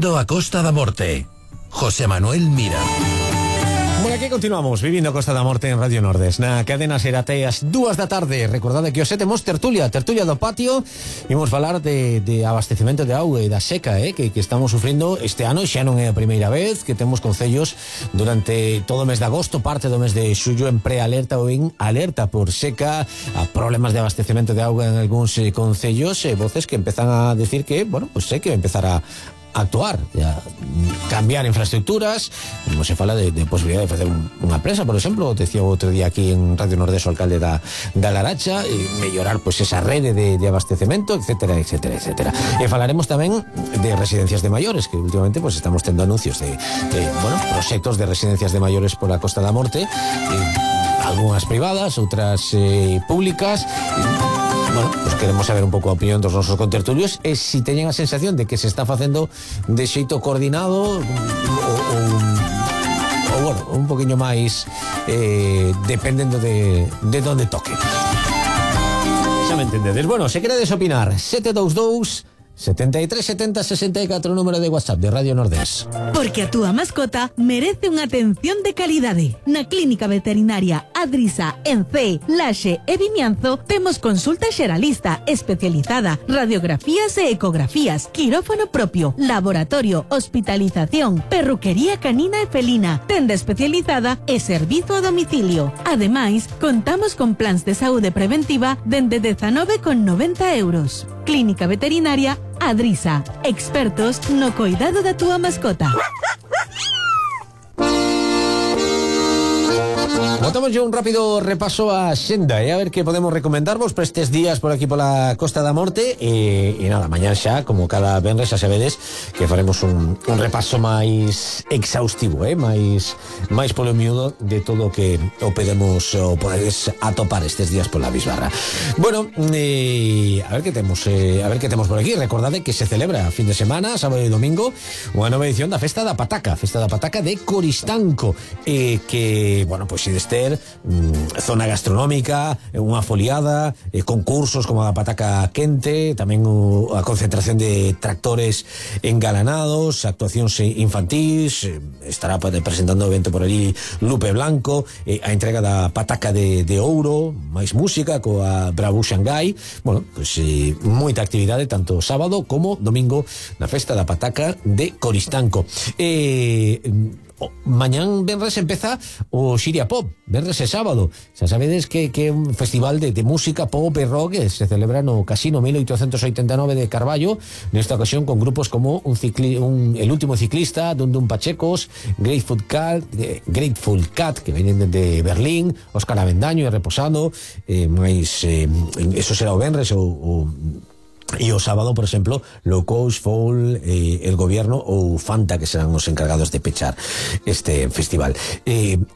Vivindo a Costa da Morte. José Manuel Mira. Bueno, aquí continuamos vivindo a Costa da Morte en Radio Nordes. Na cadena será até as 2 da tarde. Recordade que hoxe temos tertulia do patio. Imos falar de abastecemento de auga e da seca que estamos sufrindo este ano. Xa non é a primeira vez que temos concellos durante todo o mes de agosto, parte do mes de xullo, en prealerta ou en alerta por seca, a problemas de abastecemento de auga en algúns concellos, voces que empezan a decir que, bueno, pues sei que empezar a actuar, a cambiar infraestructuras, como se fala de posibilidad de facer unha presa, por exemplo, decía outro día aquí en Radio Nordés o alcalde da Laracha, e mellorar pues esa rede de abastecemento, etcétera, etcétera, etcétera. E falaremos tamén de residencias de maiores, que últimamente pues estamos tendo anuncios de proxectos de residencias de maiores pola Costa da Morte, algunhas privadas, outras públicas. Bueno, pues queremos saber un pouco a opinión dos nosos contertulios e si teñen a sensación de que se está facendo de xeito coordinado ou bueno, un poquinho máis dependendo de donde toque. Xa me entendedes. Bueno, se queredes opinar, 722 73 70 64, número de WhatsApp de Radio Nordés. Porque a túa mascota merece unha atención de calidade. Na Clínica Veterinaria Adrisa, en Cee, Laxe e Vimianzo temos consulta xeralista especializada, radiografías e ecografías, quirófano propio, laboratorio, hospitalización, perruquería canina e felina, tenda especializada e servizo a domicilio. Ademais, contamos con plans de saúde preventiva dende 19,90 euros. Clínica Veterinaria Adrisa, expertos no cuidado da túa mascota. Botamos yo un rápido repaso a xenda a ver que podemos recomendarvos para estes días por aquí pola Costa da Morte e nada, mañá xa, como cada venres, xa sabedes que faremos un repaso máis exhaustivo, máis polo miúdo de todo o que podedes atopar estes días pola bisbarra. Bueno, a ver que temos por aquí. Recordade que se celebra a fin de semana, sábado e domingo, unha nova edición da Festa da Pataca de Coristanco, que, bueno, pois se zona gastronómica, unha foliada, concursos como a pataca quente, tamén a concentración de tractores engalanados, actuacións infantís, estará presentando o evento por allí Lupe Blanco, a entrega da pataca de ouro, máis música coa Bravo Xangai. Bueno, pues moita actividade tanto sábado como domingo na Festa da Pataca de Coristanco. Mañán venres empeza o Xiria Pop, venres e sábado. Xa sabedes que é un festival de música pop e rock que se celebra no Casino 1889 de Carballo, nesta ocasión con grupos como El Último Ciclista, Dundum Pachecos, Grateful Cat, que venen de Berlín, Óscar Avendaño e Reposado, eso será o venres e o sábado, por exemplo, Low Coast, Fall, El Gobierno ou Fanta, que serán os encargados de pechar este festival.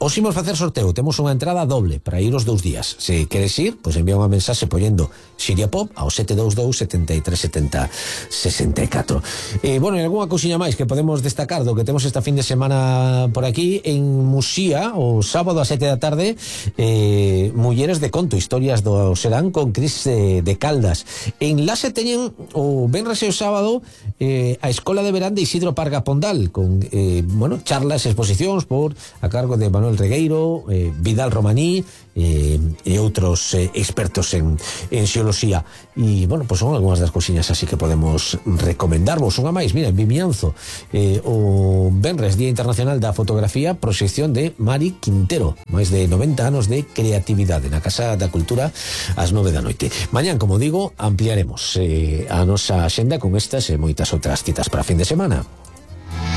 Os imos facer sorteo, temos unha entrada doble para ir os 2 días. Se queres ir, pois envía unha mensaxe poñendo Xiria Pop ao 722 73 70 64. Bueno, e algunha cousiña máis que podemos destacar do que temos esta fin de semana por aquí en Muxía, o sábado a 7 da tarde, Mulleres de Conto, historias do serán con Cris de Caldas. En Laxe teñen o venres e o sábado a Escola de Verán de Isidro Parga Pondal, con charlas e exposicións por a cargo de Manuel Regueiro, Vidal Romaní e outros expertos en xeoloxía. E, bueno, pues son algunhas das cousiñas así que podemos recomendarvos. Unha máis, mira, en Vimianzo, o venres, Día Internacional da Fotografía, proxección de Mari Quintero, máis de 90 anos de creatividade na Casa da Cultura ás 9 da noite. Mañán, como digo, ampliaremos a nosa axenda con estas e moitas outras citas para fin de semana.